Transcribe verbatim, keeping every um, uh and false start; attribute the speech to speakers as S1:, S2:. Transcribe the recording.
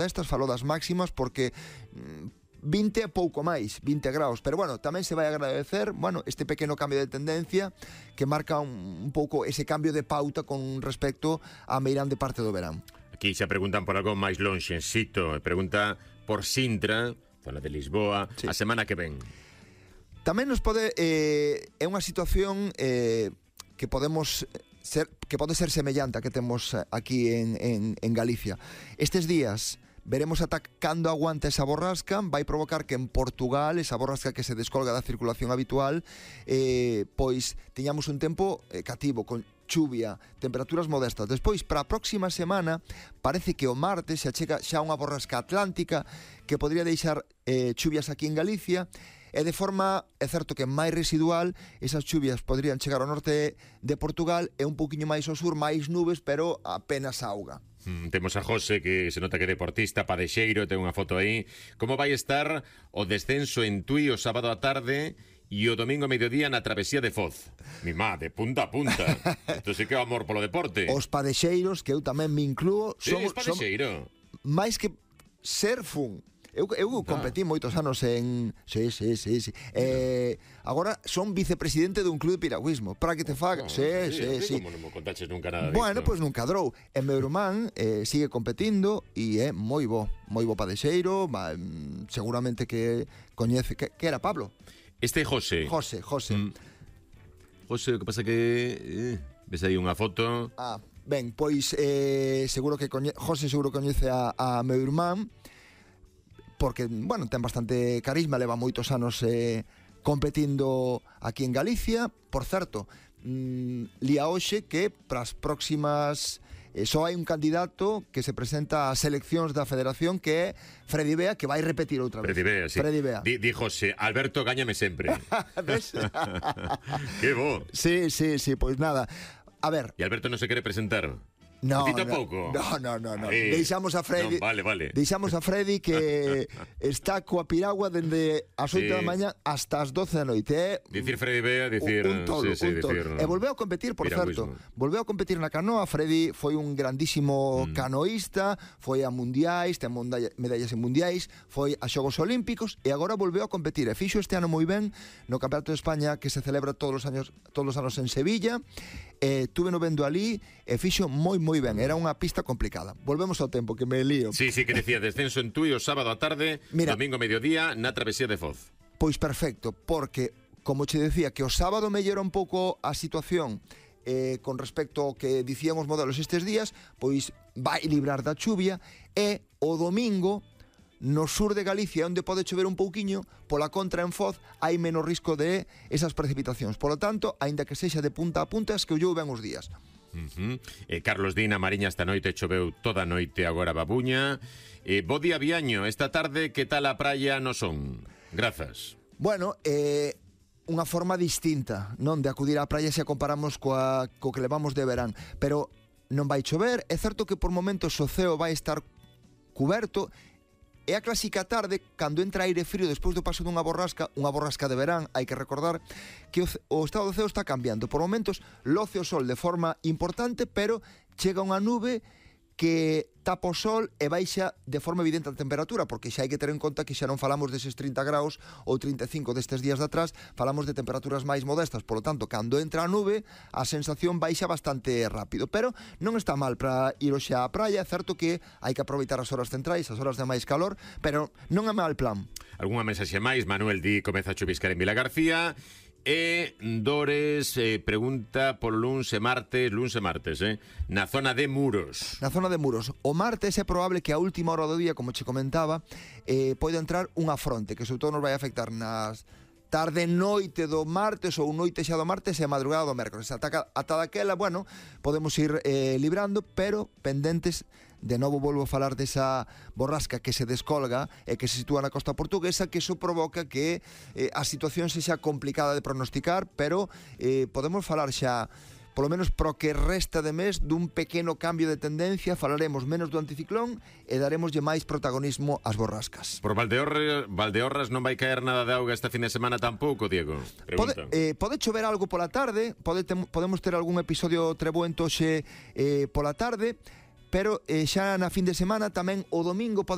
S1: estas, falo das máximas porque vinte e pouco máis, vinte graus, pero bueno, tamén se vai agradecer, bueno, este pequeno cambio de tendencia que marca un, un pouco ese cambio de pauta con respecto a meirande parte do verán.
S2: Aquí xa preguntan por algo máis lonxe, Xito, pregunta por Sintra, zona de Lisboa, sí. A semana que ven.
S1: Tamén nos pode, eh, é unha situación eh, que podemos ser, que pode ser semellante a que temos aquí en, en, en Galicia. Estes días veremos ata cando aguanta esa borrasca, vai provocar que en Portugal, esa borrasca que se descolga da circulación habitual, eh, pois teñamos un tempo eh, cativo, con chuvia, temperaturas modestas. Despois, para a próxima semana, parece que o martes se achega xa unha borrasca atlántica que podría deixar eh, chuvias aquí en Galicia, e de forma, é certo que máis residual, esas chuvias podrían chegar ao norte de Portugal e un poquinho máis ao sur, máis nubes, pero apenas auga.
S2: Mm, temos a José, que se nota que é deportista, padexeiro, ten unha foto aí. Como vai estar o descenso en Tui o sábado a tarde e o domingo a mediodía na travesía de Foz? Mi má, de punta a punta. Isto sí que é o amor polo deporte.
S1: Os padexeiros, que eu tamén me incluo,
S2: sí, somos, padexeiro. Somos
S1: máis que ser fun. Eu, eu ah. competí moitos anos en... Sí, sí, sí, sí. Eh, agora son vicepresidente dun club de piragüismo. Para que te faga... No, sí, sí, sí.
S2: Como non me contaches nunca nada
S1: Bueno,
S2: disto.
S1: pois pues nunca drou. E meu irmán eh, sigue competindo e é moi bo. Moi bo padexeiro. Va, seguramente que coñece... Que, que era Pablo?
S2: Este é José.
S1: José, José. Mm.
S2: José, o que pasa que... Eh, ves aí unha foto...
S1: Ah, ben, pois eh, seguro que coñe... José seguro coñece a, a meu irmán, porque, bueno, ten bastante carisma, leva moitos anos eh, competindo aquí en Galicia. Por certo, mmm, lía hoxe que para as próximas... Eh, só hai un candidato que se presenta ás eleccións da Federación, que é Freddy Bea, que vai repetir outra vez.
S2: Freddy Bea, sí.
S1: Freddy Bea.
S2: Di, di José, Alberto, gáñame sempre.
S1: ¿Ves?
S2: Que bo.
S1: Sí, sí, sí, pois pues nada. A ver...
S2: E Alberto non se quere presentar?
S1: No,
S2: a ti tampouco?
S1: No, no, no, no.
S2: Ay,
S1: deixamos a Freddy.
S2: No, vale, vale.
S1: Deixamos a Freddy que está coa piragua dende as oito sí. da mañá hasta as doce da noite. Eh?
S2: Dicir Freddy Bea, dicir...
S1: Un tolo,
S2: sí, sí,
S1: un tolo.
S2: dicir,
S1: e volveu a competir, por
S2: piragüismo.
S1: certo. Volveu a competir na canoa. Freddy foi un grandísimo mm. canoísta, foi a mundiais, ten medallas en mundiais, foi a Xogos Olímpicos e agora volveu a competir. E fixo este ano moi ben no Campeonato de España, que se celebra todos os años, todos os anos en Sevilla. Eh, tuve no vendo ali e fixo moi moi ben. Era unha pista complicada. Volvemos ao tempo, que me lío.
S2: Sí, sí, que decía descenso en Tui o sábado a tarde, Mira, domingo a mediodía na travesía de Foz.
S1: Pois perfecto, porque como che decía que o sábado mellora un pouco a situación eh, con respecto ao que dicían os modelos estes días, pois vai librar da chuvia, e o domingo no sur de Galicia, onde pode chover un pouquiño, pola contra en Foz hai menos risco de esas precipitacións. Polo tanto, aínda que sexa de punta a punta, es que o ben os días.
S2: Uh-huh. eh, Carlos Dina, Mariña, esta noite choveu toda a noite, agora babuña. eh, Bo día Viaño, esta tarde que tal a praia no son? Grazas.
S1: Bueno, eh... unha forma distinta, non, de acudir á praia se a comparamos coa, co que levamos de verán. Pero non vai chover, é certo que por momentos o ceo vai estar cuberto. É a clásica tarde, cando entra aire frío despois do paso dunha borrasca, unha borrasca de verán. Hai que recordar que o, o estado do ceo está cambiando. Por momentos loce o sol de forma importante, pero chega unha nube que tapa o sol e baixa de forma evidente a temperatura, porque xa hai que ter en conta que xa non falamos deses trinta graus ou trinta e cinco destes días de atrás, falamos de temperaturas máis modestas. Por lo tanto, cando entra a nube, a sensación baixa bastante rápido, pero non está mal para ir hoxe á praia. É certo que hai que aproveitar as horas centrais, as horas de máis calor, pero non é mal plan.
S2: Algúnha mensaxe máis? Manuel di, comeza a chuviscar en Vila García. E Dores eh, pregunta por luns e martes, luns e martes, eh, na zona de Muros.
S1: Na zona de Muros. O martes é probable que a última hora do día, como che comentaba, eh, poida entrar unha fronte que sobre todo nos vai afectar nas tarde noite do martes ou noite xa do martes e madrugada do mércores. Ata, ata daquela, bueno, podemos ir eh, librando, pero pendentes. De novo volvo a falar desa borrasca que se descolga e que se sitúa na costa portuguesa, que iso provoca que eh, a situación sexa complicada de pronosticar, pero eh, podemos falar xa, polo menos pro que resta de mes, dun pequeno cambio de tendencia. Falaremos menos do anticiclón e daremoslle máis protagonismo ás borrascas.
S2: Por Valdeorras, Valdeorras non vai caer nada de auga este fin de semana tampouco, Diego?
S1: Pode, eh, pode chover algo pola tarde, pode te, podemos ter algún episodio trebuento xe eh, pola tarde, pero eh, xa na fin de semana tamén o domingo pode